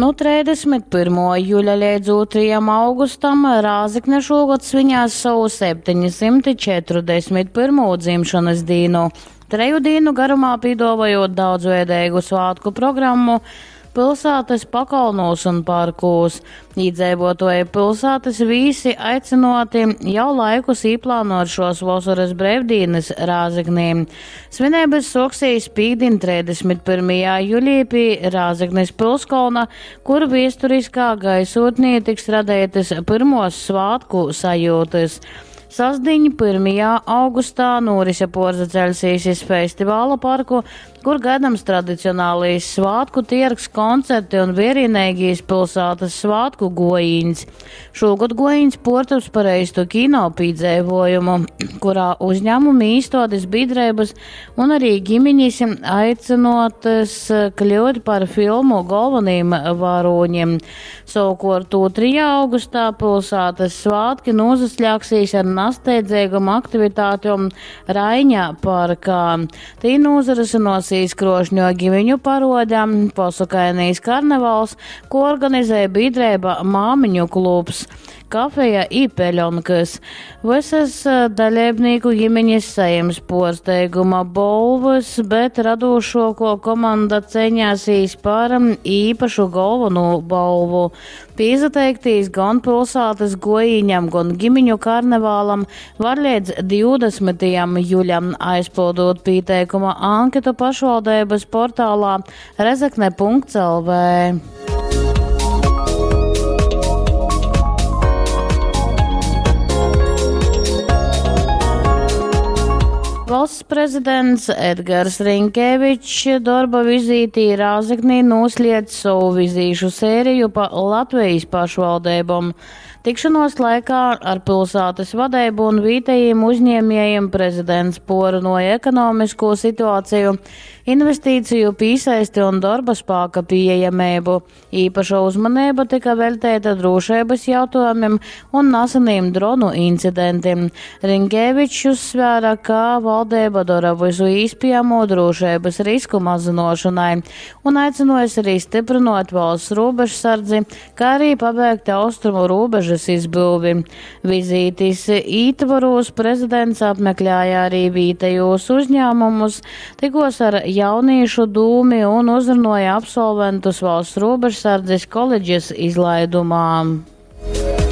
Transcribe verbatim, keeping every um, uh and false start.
Nu treisdesmit pyrmuo juļa leidz ūtrajam augustam Rāzekne šūgod svinēs sovu septeņsymti četrudesmit pyrmū dzimšonys dīnu. Treju dīnu garumā pīduovojūt daudzveideigu svātku programmu pilsātys pakolnūs un parkūs. Īdzeivuotuoji pilsātys vīsi aicynuoti jau laikus īplānuot šuos vosorys breivdīnys Rāzeknī. Svineibys suoksīs pīktdiņ treisdesmit pyrmajā julī pi Rāzeknis pilskolna, kur viesturiskā gaisūtnī tiks radeitys pyrmuos svātku sajiutys. Sastdiņ pyrmajā augustā nūrise puorsaceļsīs iz festivala parku, kur gaidams tradicionālais svātku tiergs, koncerti un vierīneigīs pilsātas svātku gojīņs. Šūgod gojīņs puortaps par eistu kino pīdzeivojumu, kurā uzņēmumi, īstādes, biedrības un arī ģimeņas aicinotys kļūt par filmu galvenajiem varoņiem. Savukārt otrajā augustā pilsētas svātki nozaslēgsies ar nasteidzīgam aktivitātēm Raiņa parkā. Tī nozarisinosies krošņo ģimeņu parodē, posakainīs karnevals, ko organizē biedrība Māmiņu klubs, kafeja i peļonkas. Visas dalībnieku ģimeņas saņems porsteiguma bolvas, bet radošoko komanda ceņāsīs par īpašu galveno balvu. Pīsateiktīs gan pilsētas gojiņam, gan ģimeņu karnevālam var līdz divdesmitajam juļam, aizpildot pieteikuma anketu pašvaldības portālā rezekne punkts L V. Valsts prezidents Edgars Rinkēvičs darba vizītī Rāzeknī nosliedz savu vizīšu sēriju pa Latvijas pašvaldībom. Tikšanos laikā ar pilsētas vadību un vietējiem uzņēmējiem prezidents porunoja ekonomisko situāciju, investīciju pīsaisti un darba spēka pieejamību. Īpaša uzmanība tika veltīta drošības jautājumiem un neseniem dronu incidentiem. Rinkēvičs uzsvēra, ka valdība dara visu īspējamo drošības risku mazinošanai un aicinājusi arī stiprinot valsts robežsardzi, kā arī pabeigt austrumu robežas izbūvi. Vizītes ītvaros prezidents apmeklēja arī vietējos uzņēmumus, tikos ar jauniešu dūmi un uzrunāja absolventus valsts robežsardzes koledžas izlaidumā.